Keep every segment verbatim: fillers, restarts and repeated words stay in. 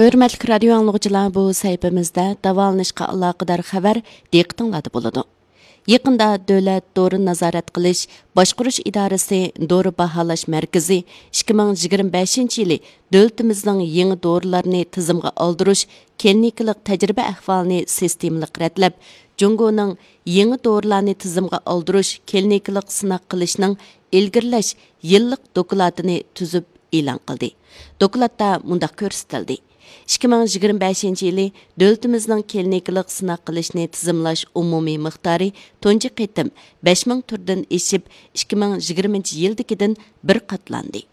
ھۆرمەتلىك رادىيو ئاڭلىغۇچىلار، بۇ سەھىپىمىزدە داۋالىنىشقا ئالاقىدار خەۋەر دىققىتىڭلاردا بولىدۇ. يېقىندا دۆلەت دورا نازارەت قىلىش باشقۇرۇش ئىدارىسى دورا باھالاش مەركىزى ئىككى مىڭ يىگىرمە بەشىنچى يىلى دۆلىتىمىزنىڭ يېڭى دورىلارنى تىزىمغا ئالدۇرۇش كلىنىكىلىق تەجرىبە ئەھۋالىنى سىستېمىلىق رەتلەپ، جۇڭگونىڭ يېڭى دورىلارنى تىزىمغا ئالدۇرۇش كلىنىكىلىق سىناق قىلىشنىڭ ئىلگىرىلەش يىللىق دوكلاتىنى تۈزۈپ ئېلان قىلدى. دوكلاتتا مۇنداق كۆرسىتىلدى: ئىككى مىڭ يىگىرمە بەشىنچى يىلى دۆلىتىمىزنىڭ كلىنىكىلىق سىناق قىلىشنى تىزىملاش ئومۇمىي مىقدارى تۇنجى قېتىم بەش مىڭ تۈردىن ئېشىپ، ئىككى مىڭ يىگىرمىنچى يىلدىكىدىن بىر قاتلاندى.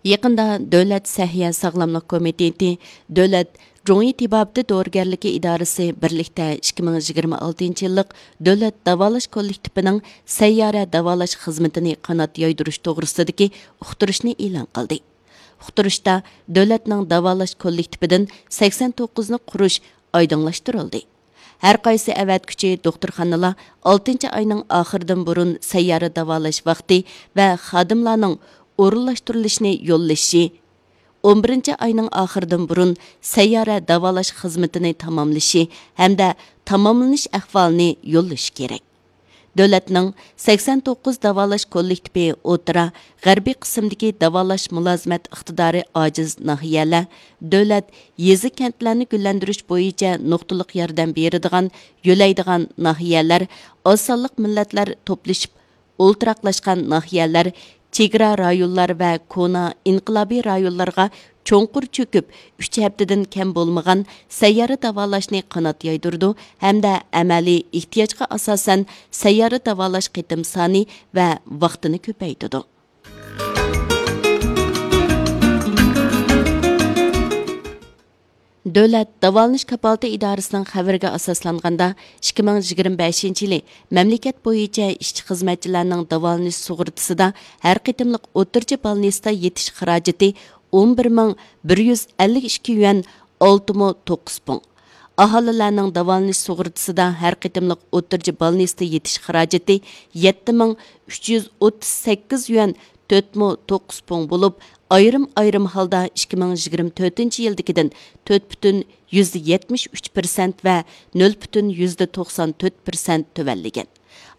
يېقىندا دۆلەت سەھىيە ساغلاملىق كومىتېتى، دۆلەت جۇڭيى تېبابىتى دورىگەرلىكى ئىدارىسى بىرلىكتە ئىككى مىڭ يىگىرمە ئالتىنچى يىللىق دۆلەت داۋالاش كوللېكتىپىنىڭ سەييارە داۋالاش خىزمىتىنى قانات يايدۇرۇش توغرىسىدىكى ئۇقتۇرۇشنى ئېلان قىلدى. ئۇقتۇرۇشتا دۆلەتنىڭ داۋالاش كوللېكتىپىدىن سەكسەن توققۇزنى قۇرۇش ئايدىڭلاشتۇرۇلدى. ھەر قايسى ئەۋەتكۈچى دوختۇرخانىلار ئالتىنچى ئاينىڭ ئاخىرىدىن بۇرۇن سەييارە داۋالاش ۋاقتى ۋە خادىملارنىڭ ئورۇنلاشتۇرۇلۇشىنى يوللىشى، ئون بىرىنچى ئاينىڭ ئاخىرىدىن بۇرۇن سەييارە داۋالاش خىزمىتىنى تاماملىشى ھەمدە تاماملىنىش ئەھۋالىنى يوللىشى كېرەك. دۆلەتنىڭ سەكسەن توققۇز داۋالاش كوللېكتىپى ئوتتۇرا، غەربىي قىسىمدىكى داۋالاش مۇلازىمەت ئىقتىدارى ئاجىز ناھىيەلەر، دۆلەت يېزا، كەنتلەرنى گۈللەندۈرۈش بويىچە نۇقتىلىق ياردەم بېرىدىغان، يۆلەيدىغان ناھىيەلەر، ئاز سانلىق مىللەتلەر توپلىشىپ ئولتۇراقلاشقان ناھىيەلەر، چېگرا رايونلار ۋە كونا ئىنقىلابىي رايونلارغا چوڭقۇر چۆكۈپ، ئۈچ ھەپتىدىن كەم بولمىغان سەييارە داۋالاشنى قانات يايدۇرىدۇ ھەمدە ئەمەلىي ئېھتىياجغا ئاساسەن سەييارە داۋالاش قېتىم سانى ۋە ۋاقتىنى كۆپەيتىدۇ. دۆلەت داۋالىنىش كاپالىتى ئىدارىسىنىڭ خەۋىرىگە ئاساسلانغاندا، ئىككى مىڭ يىگىرمە بەشىنچى يىلى مەملىكەت بويىچە ئىشچى خىزمەتچىلەرنىڭ داۋالىنىش سۇغۇرتىسىدا ھەر قېتىملىق ئوتتۇرىچە بالنىستتا يېتىش خىراجىتى ئون بىر مىڭ بىر يۈز ئەللىك ئىككى يۈەن، ئالتە مو توققۇز پۇڭ. ئاھالىلەرنىڭ داۋالىنىش سۇغۇرتىسىدا ھەر قېتىملىق ئوتتۇرىچە بالنىستا يېتىش خىراجىتى يەتتە مىڭ ئۈچ يۈز ئوتتۇز سەككىز يۈەن، تۆت مو توققۇز پۇڭ بولۇپ، ئايرىم-ئايرىم ھالدا ئىككى مىڭ يىگىرمە تۆتىنچى يىلدىكىدىن تۆت پۈتۈن يۈزدە يەتمىش ئۈچ پىرسەنت ۋە نۆل پۈتۈن يۈزدە توقسان تۆت پىرسەنت تۆۋەنلىگەن.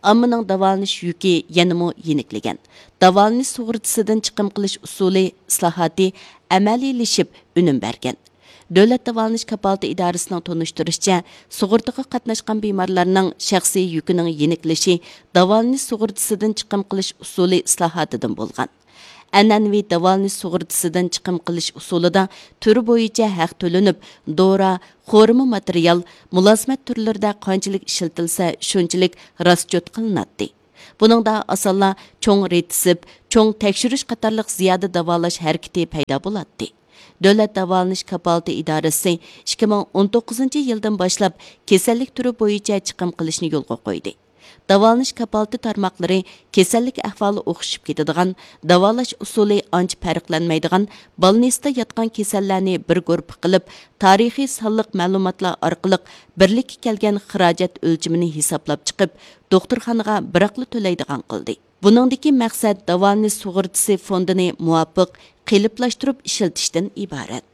ئاممىنىڭ داۋالىنىش يۈكى يەنىمۇ يېنىكلىگەن. داۋالىنىش سۇغۇرتىسىدىن چىقىم قىلىش ئۇسۇلى ئىسلاھاتى ئەمەلىيلىشىپ ئۈنۈم بەرگەن. دۆلەت داۋالىنىش كاپالىتى ئىدارىسىنىڭ تونۇشتۇرۇشىچە، سۇغۇرتىغا قاتناشقان بىمارلارنىڭ شەخسىي يۈكىنىڭ يېنىكلىشى داۋالىنىش سۇغۇرتىسىدىن چىقىم قىلىش ئۇسۇلى ئىسلاھاتىدىن بولغان. ئەنئەنىۋى داۋالىنىش سۇغۇرتىسىدىن چىقىم قىلىش ئۇسۇلىدا تۈرى بويىچە ھەق تۆلىنىپ، دورا، خورىما ماتېرىيال، مۇلازىمەت تۈرلىرىدە قانچىلىك ئىشلىتىلسە، شۇنچىلىك راسچوت قىلىناتتى. بۇنىڭدا ئاسانلا چوڭ رېتسېپ، چوڭ تەكشۈرۈش قاتارلىق زىيادە داۋالاش ھەرىكىتى پەيدا بولاتتى. دۆلەت داۋالىنىش كاپالىتى ئىدارىسى ئىككى مىڭ ئون توققۇزىنچى يىلدىن باشلاپ كېسەللىك تۈرى بويىچە چىقىم قىلىشنى يولغا قويدى. داۋالىنىش كاپالىتى تارماقلىرى كېسەللىك ئەھۋالى ئوخشىشىپ كېتىدىغان، داۋالاش ئۇسۇلى ئانچە پەرقلەنمەيدىغان بالنىستا ياتقان كېسەللەرنى بىر گۇرۇپپا قىلىپ، تارىخىي سانلىق مەلۇماتلار ئارقىلىق بىرلىككە كەلگەن خىراجەت ئۆلچىمىنى ھېسابلاپ چىقىپ، دوختۇرخانىغا بىراقلا تۆلەيدىغان قىلدى. بۇنىڭدىكى مەقسەت داۋالىنىش سۇغۇرتىسى فوندىنى مۇۋاپىق قېلىپلاشتۇرۇپ ئىشلىتىشتىن ئىبارەت.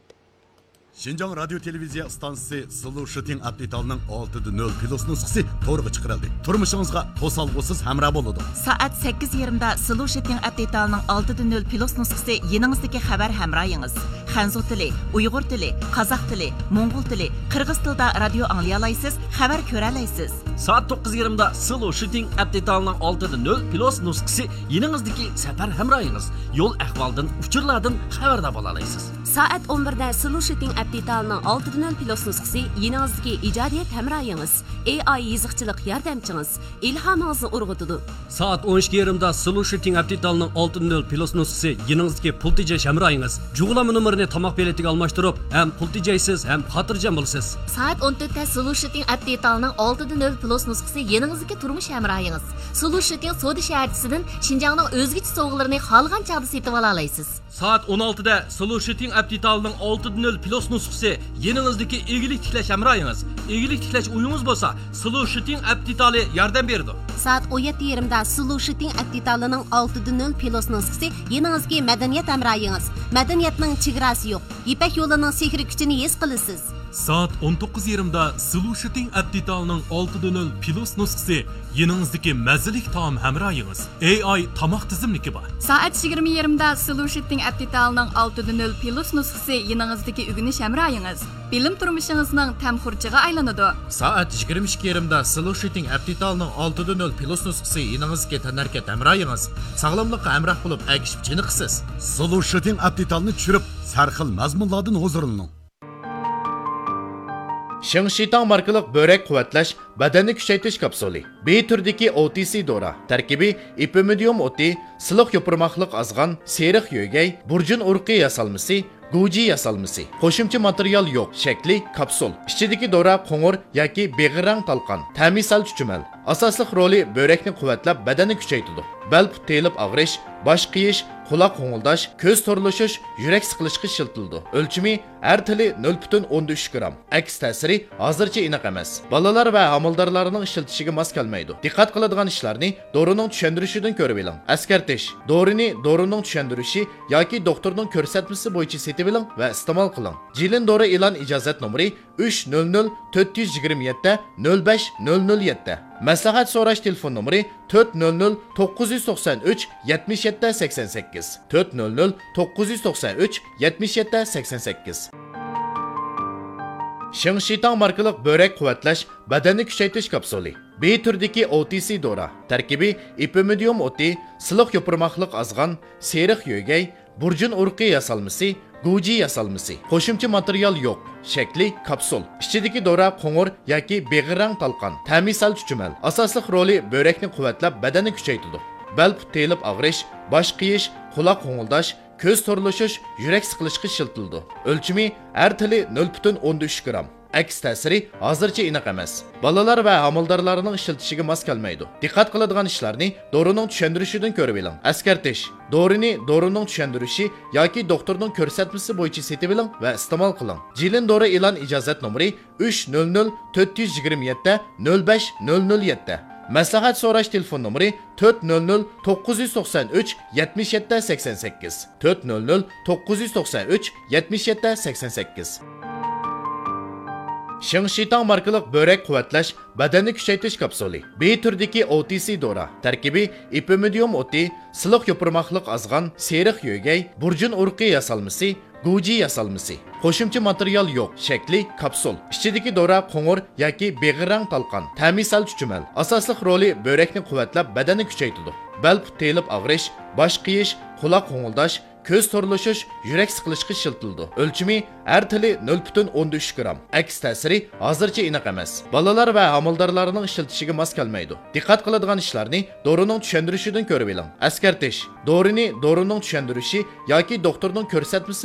شىنجاڭ رادىيو تېلېۋىزىيە ئىستانسىسى سلۇشىتىڭ ئەپ دېتالنىڭ ئالتىدە نۆل پلۇس نۇسخىسى تورغا چىقىرىلدى. تۇرمۇشىڭىزغا توسالغۇسىز ھەمراھ بولىدۇ. سائەت سەككىز يېرىمدا سلۇشىتىڭ ئەپ دېتالنىڭ ئالتىدە نۆل پلۇس نۇسخىسى يېنىڭىزدىكى خەۋەر ھەمراھىڭىز. خەنزۇ تىلى، ئۇيغۇر تىلى، قازاق تىلى، موڭغۇل تىلى، قىرغىز تىلىدا رادىيو ئاڭلىيالايسىز، خەۋەر كۆرەلەيسىز. سائەت توققۇز يېرىمدا سلۇشىتىڭ ئەپ دېتالنىڭ ئالتىدە نۆل پلۇس نۇسخىسى يېنىڭىزدىكى سەپەر ھەمراھىڭىز. يول ئەھۋالدىن، ئۇچۇرلاردىن خەۋەردار بولالايسىز. سائەت ئون بىردە سلۇشىتىڭ ئەپ دېتالنىڭ ئالتىدە نۆل پلۇس نۇسخىسى يېنىڭىزدىكى ئىجادىيەت ھەمراھىڭىز، ئېي ئاي يېزىقچىلىق ياردەمچىڭىز، ئىلھامىڭىزنى ئۇرغۇتىدۇ. سائەت ئون ئىككى يېرىمدا سلۇشىتىڭ ئەپ دېتالنىڭ ئالتىدە نۆل پلۇس نۇسخىسى يېنىڭىزدىكى پۇل تېجەش ھەمراھىڭىز. جۇغلانما نومۇرىنى تاماق پېلىتىگە ئالماشتۇرۇپ، ھەم پۇل تېجەيسىز، ھەم خاتىرجەم بولىسىز. سائەت ئون تۆتتە سلۇشىتىڭ ئەپ دېتالنىڭ ئالتىدە نۆل پلۇس نۇسخىسى يېنىڭىزدىكى تۇرمۇش ھەمراھىڭىز. سلۇشىتىڭ سودا شەھەرچىسىدىن شىنجاڭنىڭ ئۆزگىچە سوۋغىلىرىنى خالىغان چاغدا سېتىۋالالايسىز. سائەت ئون ئالتىدە سلوشىتىڭ ئەپ دېتالىنىڭ ئالتىدە نۆل پلۇس نۇسخىسى يېنىڭىزدىكى ئىگىلىك تىكلەش ھەمراھىڭىز. ئىگىلىك تىكلەش ئويىڭىز بولسا، سلوشىتىڭ ئەپ دېتالى ياردەم بېرىدۇ. سائەت ئون يەتتە يېرىمدە سلوشىتىڭ ئەپ دېتالىنىڭ ئالتىدە نۆل پلۇس نۇسخىسى يېنىڭىزدىكى مەدەنىيەت ھەمراھىڭىز. مەدەنىيەتنىڭ چېگراسى يوق. يىپەك يولىنىڭ سېھرىي كۈچىنى ھېس قىلىسىز. سائەت ئون توققۇز يېرىمدا سلوشىتىڭ ئەپ دېتالىنىڭ ئالتىدە نۆل پلۇس نۇسخىسى يېنىڭىزدىكى مەززىلىك تائام ھەمراھىڭىز. ئېي ئاي تاماق تىزىملىكى بار. سائەت يىگىرمە يېرىمدا سلوشىتىڭ ئەپ دېتالىنىڭ ئالتىدە نۆل پلۇس نۇسخىسى يېنىڭىزدىكى ئۆگىنىش ھەمراھىڭىز. بىلىم تۇرمۇشىڭىزنىڭ تەم خۇرجىغا ئايلىنىدۇ. سائەت يىگىرمە ئىككى يېرىمدا سلوشىتىڭ ئەپ دېتالىنىڭ ئالتىدە نۆل پلۇس نۇسخىسى يېنىڭىزدىكى تەنھەرىكەت ھەمراھىڭىز. ساغلاملىققا ھەمراھ بولۇپ، ئەگىشىپ چېنىقىسىز. سلوشىتىڭ ئەپ دېتالىنى چۈشۈرۈپ، سەرخىل مەزمۇنلاردىن ھۇزۇرلىنىڭ. شىڭشىتاڭ ماركىلىق بۆرەك قۇۋۋەتلەش، بەدەننى كۈچەيتىش كاپسۇلى. بى تۈرىدىكى ئو تى سى دورا. تەركىبى ئېپىمىدىيۇم ئوتى، سىلىق يوپۇرماقلىق ئازغان، سېرىق يۆگەي، بۇرجۇن ئۇرۇقى ياسالمىسى، گۇجى ياسالمىسى. قوشۇمچە ماتېرىيال يوق. شەكلى كاپسۇل. ئىچىدىكى دورا قوڭۇر ياكى بېغىر رەڭ تالقان. تەمى سەل چۈچۈمەل. ئاساسلىق رولى بۆرەكنى قۇۋۋەتلەپ، بەدەننى كۈچەيتىدۇ. بەل پۇت تېيىلىپ ئاغرىش، باش قېيىش، قۇلاق غوڭۇلداش، كۆز تورلىشىش، يۈرەك سىقىلىشقا ئىشلىتىلىدۇ. ئۆلچىمى ھەر تىلى نۆل پۈتۈن ئوندىن ئۈچ گرام. ئەكس تەسىرى ھازىرچە ئېنىق ئەمەس. بالىلار ۋە ھامىلىدارلارنىڭ ئىشلىتىشىگە ماس كەلمەيدۇ. دىققەت قىلىدىغان ئىشلارنى دورىنىڭ چۈشەندۈرۈشىدىن كۆرۈۋېلىڭ. ئەسكەرتىش: دورىنى دورىنىڭ چۈشەندۈرۈشى ياكى دوختۇرنىڭ كۆرسەتمىسى بويىچە سېتىۋېلىڭ ۋە ئىستېمال قىلىڭ. جىلىن دورا ئېلان ئىجازەت نومۇرى ئۈچ نۆل نۆل تۆت يۈز يىگىرمە يەتتە نۆل بەش نۆل نۆل يەتتە. مەسلىھەت سوراش تېلېفون نومۇرى تۆت نۆل نۆل توققۇز يۈز توقسان ئۈچ يەتمىش يەتتە سەكسەن سەككىز، تۆت نۆل نۆل توققۇز يۈز توقسان ئۈچ يەتمىش يەتتە سەكسەن سەككىز. شىڭشىتاڭ ماركىلىق بۆرەك قۇۋۋەتلەش، بەدەننى كۈچەيتىش كاپسۇلى. بى تۈرىدىكى ئو تى سى دورا. تەركىبى ئېپىمىدىيۇم ئوتى، سىلىق يوپۇرماقلىق ئازغان، سېرىق يۆگەي، بۇرجۇن ئۇرۇقى ياسالمىسى، گۇجى ياسالمىسى. قوشۇمچە ماتېرىيال يوق. شەكلى كاپسۇل. ئىچىدىكى دورا قوڭۇر ياكى بېغىر رەڭ تالقان. تەمى سەل چۈچۈمەل. ئاساسلىق رولى بۆرەكنى قۇۋۋەتلەپ، بەدەننى كۈچەيتىدۇ. بەل پۇت تېيىلىپ ئاغرىش، باش قېيىش، قۇلاق غوڭۇلداش، كۆز تورلىشىش، يۈرەك سىقىلىشقا ئىشلىتىلىدۇ. ئۆلچىمى ھەر تىلى نۆل پۈتۈن ئوندىن ئۈچ گرام. ئەكس تەسىرى ھازىرچە ئېنىق ئەمەس. بالىلار ۋە ھامىلىدارلارنىڭ ئىشلىتىشىگە ماس كەلمەيدۇ. دىققەت قىلىدىغان ئىشلارنى دورىنىڭ چۈشەندۈرۈشىدىن كۆرۈۋېلىڭ. ئەسكەرتىش: دورىنى دورىنىڭ چۈشەندۈرۈشى ياكى دوختۇرنىڭ كۆرسەتمىسى بويىچە سېتىۋېلىڭ ۋە ئىستېمال قىلىڭ. جىلىن دورا ئېلان ئىجازەت نومۇرى ئۈچ نۆل نۆل تۆت يۈز يىگىرمە يەتتە نۆل بەش نۆل نۆل يەتتە. مەسلىھەت سوراش تېلېفون نومۇرى تۆت نۆل نۆل توققۇز يۈز توقسان ئۈچ يەتمىش يەتتە سەكسەن سەككىز، تۆت نۆل نۆل توققۇز يۈز توقسان ئۈچ يەتمىش يەتتە سەكسەن سەككىز. شىڭشىتاڭ ماركىلىق بۆرەك قۇۋۋەتلەش، بەدەننى كۈچەيتىش كاپسۇلى. بى تۈرىدىكى ئو تى سى دورا. تەركىبى ئېپىمىدىيۇم ئوتى، سىلىق يوپۇرماقلىق ئازغان، سېرىق يۆگەي، بۇرجۇن ئۇرۇقى ياسالمىسى، گۇجى ياسالمىسى. قوشۇمچە ماتېرىيال يوق. شەكلى كاپسۇل. ئىچىدىكى دورا قوڭۇر ياكى بېغىر رەڭ تالقان. تەمى سەل چۈچۈمەل. ئاساسلىق رولى بۆرەكنى قۇۋۋەتلەپ، بەدەننى كۈچەيتىدۇ. بەل پۇت تېيىلىپ ئاغرىش، باش قېيىش، قۇلاق غوڭۇلداش، كۆز تورلىشىش، يۈرەك سىقىلىشقا ئىشلىتىلىدۇ. ئۆلچىمى ھەر تىلى نۆل پۈتۈن ئوندىن ئۈچ گرام. ئەكس تەسىرى ھازىرچە ئېنىق ئەمەس. بالىلار ۋە ھامىلىدارلارنىڭ ئىشلىتىشىگە ماس كەلمەيدۇ. دىققەت قىلىدىغان ئىشلارنى دورىنىڭ چۈشەندۈرۈشىدىن كۆرۈۋېلىڭ. ئەسكەرتىش: دورىنى دورىنىڭ چۈشەندۈرۈشى ياكى دوختۇرنىڭ كۆرسەتمىسى